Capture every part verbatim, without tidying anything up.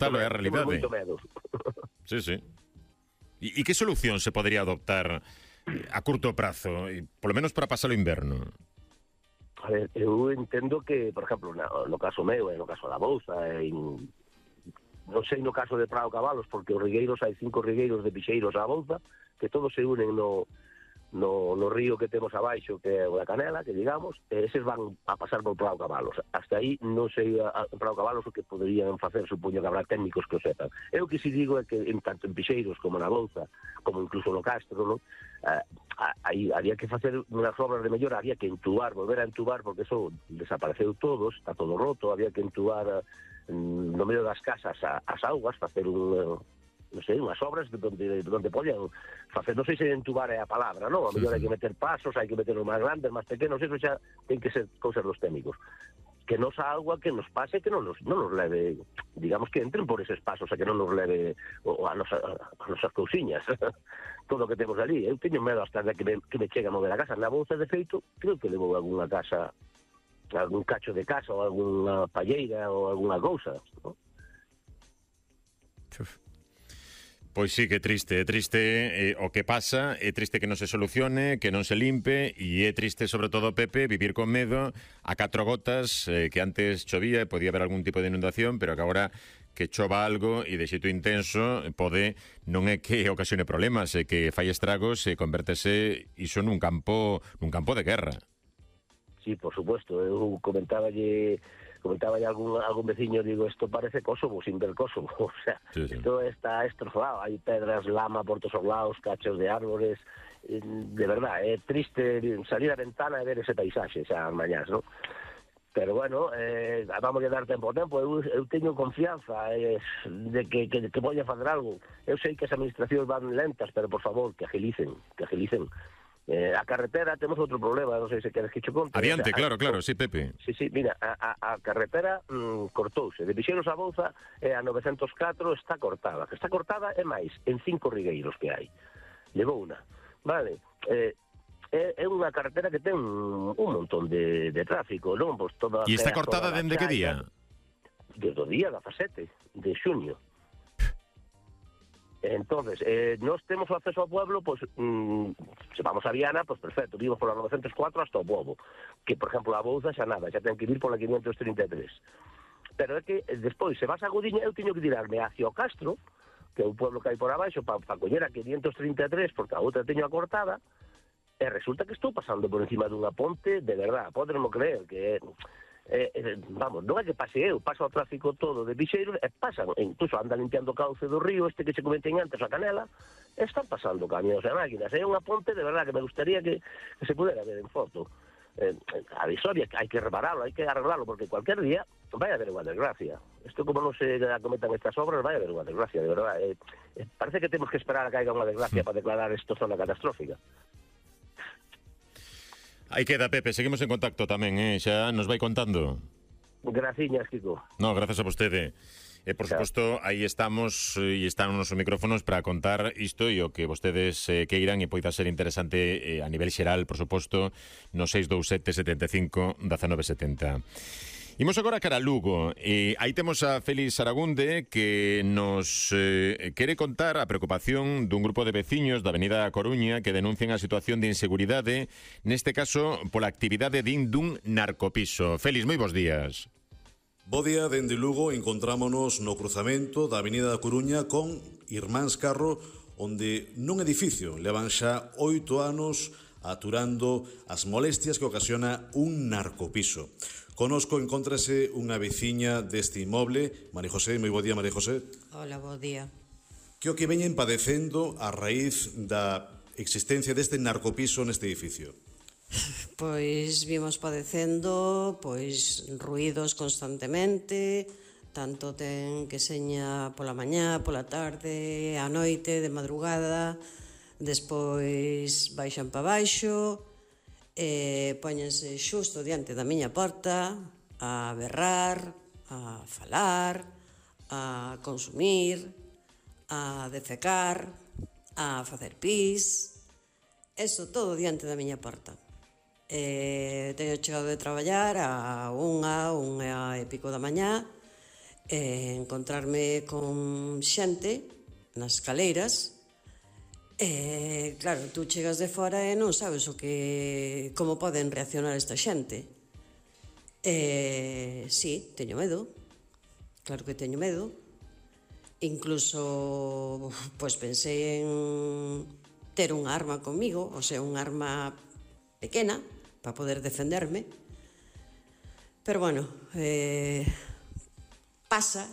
Tal é a realidade. Temos moito medo. Sí, sí. E, e que solución se podría adoptar a curto prazo, e polo menos para pasar o inverno? A ver, eu entendo que, por exemplo, no, no caso meu, e no caso da Bouza, en, non sei no caso de Prado Cabalos, porque os rigueiros, hai cinco rigueiros de pixeiros á Bouza, que todos se unen no, no, no río que temos abaixo, que é o da Canela, que digamos, e eses van a pasar por Prado Cabalos. Hasta aí non sei a, a Prado Cabalos o que poderían facer, supoño que habrá técnicos que o sepan. Eu que si digo é que en tanto en pixeiros como na Bouza, como incluso no Castro, non? Uh, aí había que facer unhas obras de mellora, había que entubar, volver a entubar, porque eso desapareceu todo, está todo roto, había que entubar uh, no medio das casas a, as augas, facer un... Uh, non sei, unhas obras donde, donde podían facer, non sei se entubar é a palabra, non? A mellor hai que meter pasos, hai que meter os máis grandes, máis pequenos, eso xa ten que ser cousas dos técnicos. Que nos a agua que nos pase, que non nos, non nos leve, digamos que entren por eses pasos, a que non nos leve o, a, nosa, a nosas cousiñas, todo o que temos ali. Eu teño medo hasta de que me, que me chegue a mover a casa. Na Bouza, de feito, creo que levo algunha casa, algún cacho de casa, ou algunha palleira, ou algunha cousa, non? Pois sí, que triste, é triste eh, o que pasa, é triste que non se solucione, que non se limpe, e é triste, sobre todo, Pepe, vivir con medo a catro gotas, eh, que antes chovía e podía haber algún tipo de inundación, pero que agora que chova algo e de xeito intenso pode, non é que ocasione problemas, é que fai estragos e convértese iso nun campo nun campo de guerra. Sí, por supuesto, eu comentáballe comentaba ya algún, algún veciño, digo, esto parece Kosovo sin ver Kosovo, o sea, sí, sí. Esto está destrozado, hay pedras, lama por todos os lados, cachos de árboles, de verdad, é triste salir a ventana e ver ese paisaxe xa mañás, ¿no? Pero bueno, eh, vamos a dar tempo ao tempo, eu, eu teño confianza eh, de que, que, que voy a fazer algo. Eu sei que as administracións van lentas, pero por favor, que agilicen, que agilicen. Eh, a carretera temos outro problema, non sei se queres que che conte. Adiante, o sea, claro, claro, sí, Pepe. Sí, sí, mira, a, a, a carretera mm, cortouse, de Pixeiros a Bouza e a novecentos catro está cortada, que está cortada é máis, en cinco rigueiros que hai. Levou unha, vale, eh, é, é unha carretera que ten un, un montón de, de tráfico, non? Pois toda, e está cortada dende que día? Desde o día dezasete de xuño. Entonces, eh, nós temos o acceso ao pueblo, pois, mmm, se vamos a Viana, pois perfecto, vimos pola novecentos cuatro hasta o Pobo, que, por exemplo, a Bouza xa nada, xa ten que vir pola quinientos trinta e tres. Pero é que, despois, se vas a Gudiña, eu teño que tirarme hacia o Castro, que é o pueblo que hai por abaixo, para pa coller a quinientos trinta e tres, porque a outra teño acortada, e resulta que estou pasando por encima dunha ponte, de verdad, podermo creer, que é... Eh, eh, vamos, non é que pase eu, pasa o tráfico todo de Pixeiros e pasan, incluso anda limpiando o cauce do río este que se comenten antes, a Canela, e están pasando camións e máquinas, é unha ponte de verdad que me gustaría que, que se pudera ver en foto. Eh, a Visoria hai que repararlo, hai que arreglarlo, porque cualquier día vai a haber unha desgracia. Isto como non se acometan estas obras, vai a haber unha desgracia, de verdad. Eh, eh, parece que temos que esperar a que haiga unha desgracia para declarar isto zona catastrófica. Aí queda, Pepe, seguimos en contacto tamén, eh? Xa nos vai contando. Graciñas, Kiko. No, gracias a vostede. E, por suposto, aí estamos e están os micrófonos para contar isto e o que vostedes eh, queiran e poida ser interesante eh, a nivel xeral, por suposto, no seis dous sete, sete cinco, un nove sete zero. Imos agora cara a Lugo, e aí temos a Félix Aragunde que nos eh, quere contar a preocupación dun grupo de veciños da Avenida Coruña que denuncian a situación de inseguridade, neste caso pola actividade din dun narcopiso. Félix, moi bons días. Bo día, dende Lugo encontrámonos no cruzamento da Avenida da Coruña con Irmáns Carro, onde nun edificio levan xa oito anos aturando as molestias que ocasiona un narcopiso. Conosco encóntrase unha veciña deste inmoble, María José. Moi bo día, María José. Hola, bo día. Que o que veñen padecendo a raíz da existencia deste narcopiso neste edificio? Pois vimos padecendo pois ruídos constantemente, tanto ten que seña pola mañá, pola tarde, á noite, de madrugada, despois baixan pa baixo, e póñense xusto diante da miña porta a berrar, a falar, a consumir, a defecar, a facer pis, eso todo diante da miña porta. E teño chegado de traballar a unha, unha e pico da mañá, eh, encontrarme con xente nas escaleiras. Eh, claro, tú chegas de fora e non sabes o que como poden reaccionar esta xente. Eh, sí, teño medo. Claro que teño medo. Incluso, pois pensei en ter unha arma comigo, o sea, unha arma pequena para poder defenderme. Pero bueno, eh, pasa,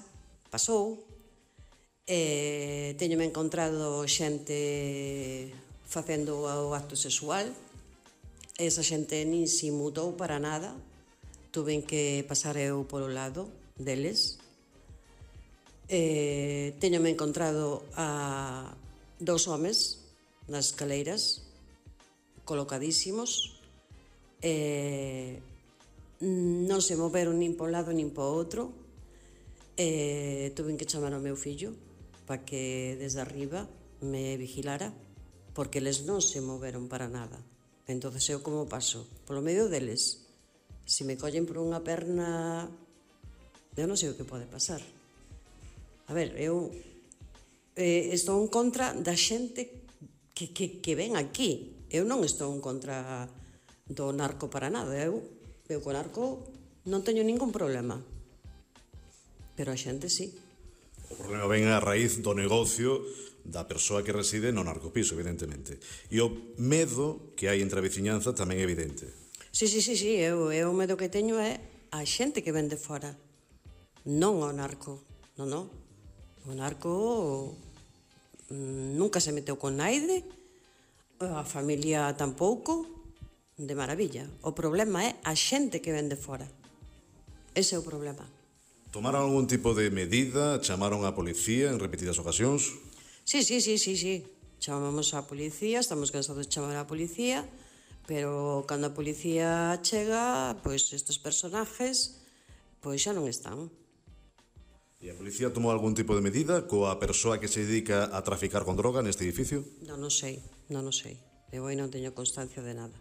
pasou. Eh, teñome encontrado xente facendo o acto sexual. Esa xente nin se mutou para nada. Tuven que pasar eu polo lado deles. Eh, teñome encontrado a dous homes nas escaleiras, colocadísimos. Eh, non se moveron nin po lado nin po outro. Eh, tuven que chamar ao meu fillo para que desde arriba me vigilara, porque eles non se moveron para nada. Entonces eu como paso? Polo medio deles. Se me collen por unha perna, eu non sei o que pode pasar. A ver, eu eh, estou en contra da xente que, que, que ven aquí. Eu non estou en contra do narco para nada. Eu, eu co narco non teño ningún problema. Pero a xente sí. O problema ven a raíz do negocio da persoa que reside no narcopiso, evidentemente. E o medo que hai entre a veciñanza tamén é evidente. Sí, sí, sí, sí. Eu, eu o medo que teño é a xente que ven de fora. Non ao narco. Non, non. O narco mm, nunca se meteu con naide, a familia tampouco, de maravilla. O problema é a xente que ven de fora. Ese é o problema. Tomaron algún tipo de medida? Chamaron a policía en repetidas ocasións? Sí, sí, sí, sí, sí. Chamamos a policía, estamos cansados de chamar a policía, pero cando a policía chega, pois estes personajes pois xa non están. E a policía tomou algún tipo de medida coa persoa que se dedica a traficar con droga neste edificio? Non, non sei, non, non sei. Eu aí non teño constancia de nada.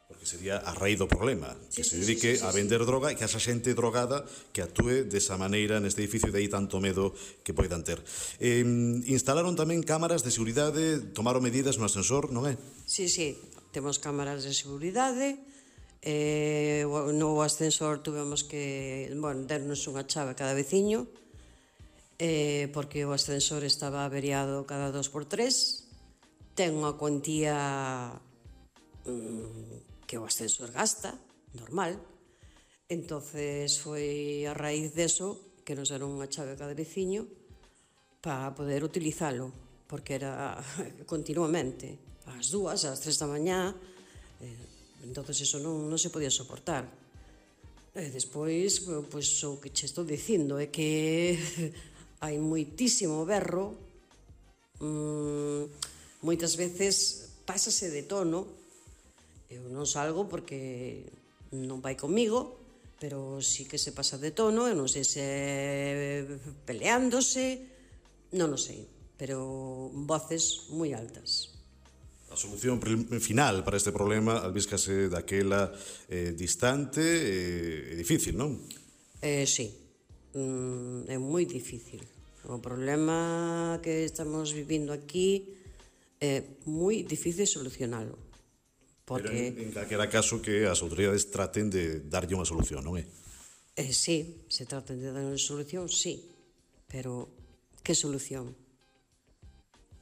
Porque sería a raíz do problema, que sí, se sí, dedique sí, sí, a sí, vender droga e que haxa xente drogada que actúe desa maneira neste edificio, de aí tanto medo que poidan ter. Eh, instalaron tamén cámaras de seguridade, tomaron medidas no ascensor, non é? Sí, sí, temos cámaras de seguridade. Eh, no ascensor tuvemos que, bueno, dernos unha chave a cada veciño, eh, porque o ascensor estaba averiado cada dos por tres. Ten unha cuantía mmm, que o ascensor gasta, normal. Entonces foi a raíz deso que nos deron unha chave a cada veciño para poder utilizalo, porque era continuamente, ás dúas, ás tres da mañá, eh, entonces eso non, non se podía soportar. E despois, pois, o que che estou dicindo é que hai moitísimo berro, mmm, moitas veces pásase de tono. Eu non salgo porque non vai comigo, pero sí que se pasa de tono, eu non sei se peleándose, non o sei, pero voces moi altas. A solución final para este problema albíscase daquela eh, distante e eh, difícil, non? Eh, sí, mm, é moi difícil. O problema que estamos vivindo aquí é moi difícil solucionalo. Porque... Pero en, en calquera caso que as autoridades traten de darlle unha solución, non é? Eh, sí, se traten de dar unha solución, sí. Pero, que solución?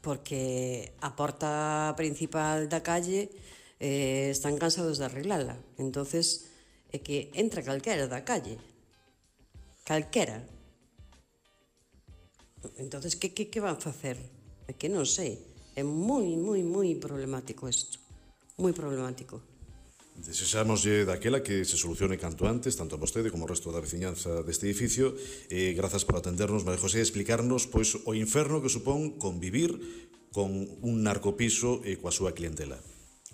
Porque a porta principal da calle eh, están cansados de arreglala. Entonces, é que entra calquera da calle. Calquera. Entonces, que, que, que van facer? É que non sei. É moi, moi, moi problemático isto. Moi problemático. Desexámoslle daquela que se solucione canto antes, tanto a vostede como o resto da veciñanza deste edificio, e grazas por atendernos, María José, e explicarnos pois o inferno que supón convivir con un narcopiso e coa súa clientela.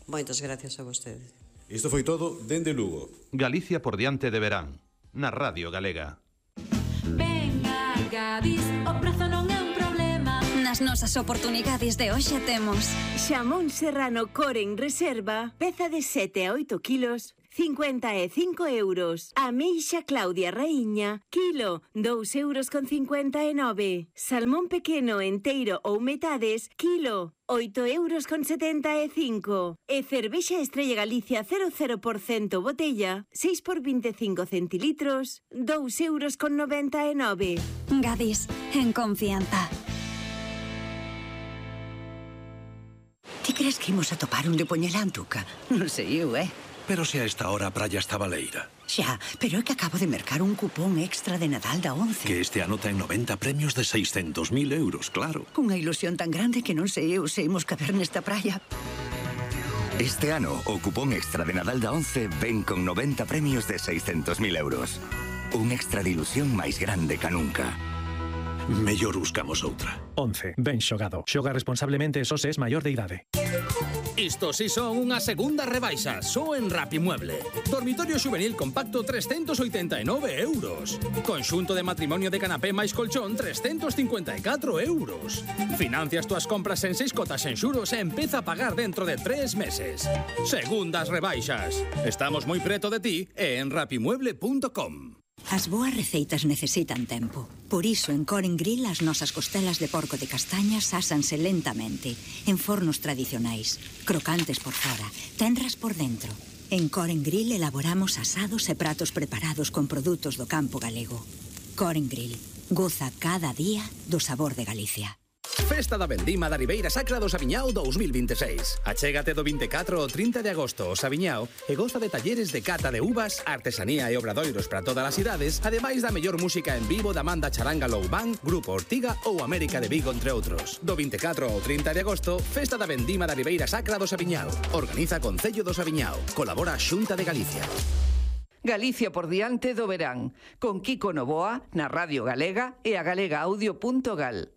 Moitas gracias a vostedes. Isto foi todo dende Lugo. Galicia por diante de verán, na Radio Galega. Venga, Gadis, o prazo non é un problema. Nas nosas oportunidades de hoxe temos xamón serrano core en reserva, peza de sete a oito kilos, cincuenta e cinco euros. Ameixa Claudia Raíña, kilo, dous euros con cincuenta e nove. Salmón pequeno enteiro ou metades, kilo, oito euros con setenta e cinco. E cervexa Estrella Galicia cero cero por ciento botella, seis por veinticinco centilitros, dous euros con noventa e nove. Gadis, en confianza. Ti crees que imos a topar un de Poñelantuca? Non sei eu, eh? Pero se a esta hora a praia está baleira. Xa, pero é que acabo de mercar un cupón extra de Nadal da once. Que este ano ten noventa premios de seiscentos mil euros, claro. Cunha ilusión tan grande que non sei eu se imos caber nesta praia. Este ano, o cupón extra de Nadal da once ven con noventa premios de seiscentos mil euros. Un extra de ilusión máis grande ca nunca. Mellor buscamos outra. once. Ben xogado. Xoga responsablemente e só se es maior de idade. Isto si son unha segunda rebaixa, só en Rapimueble. Dormitorio xuvenil compacto trescentos oitenta e nove euros. Conxunto de matrimonio de canapé máis colchón trescentos cincuenta e catro euros. Financias túas compras en seis cotas en xuros e empeza a pagar dentro de tres meses. Segundas rebaixas. Estamos moi preto de ti e en rapimueble punto com. As boas receitas necesitan tempo. Por iso, en Coren Grill, as nosas costelas de porco de castañas ásanse lentamente, en fornos tradicionais, crocantes por fora, tenras por dentro. En Coren Grill elaboramos asados e pratos preparados con produtos do campo galego. Coren Grill. Goza cada día do sabor de Galicia. Festa da Vendima da Ribeira Sacra do Saviñao dous mil veintiséis. Achégate do vinte e catro ao trinta de agosto ao Saviñao e goza de talleres de cata de uvas, artesanía e obradoiros para todas as idades, ademais da mellor música en vivo da Manda Charanga Low Band, Grupo Ortiga ou América de Vigo, entre outros. Do vinte e catro ao trinta de agosto, Festa da Vendima da Ribeira Sacra do Saviñao. Organiza Concello do Saviñao. Colabora a Xunta de Galicia. Galicia por diante do verán, con Kiko Novoa na Radio Galega e a galega audio punto gal.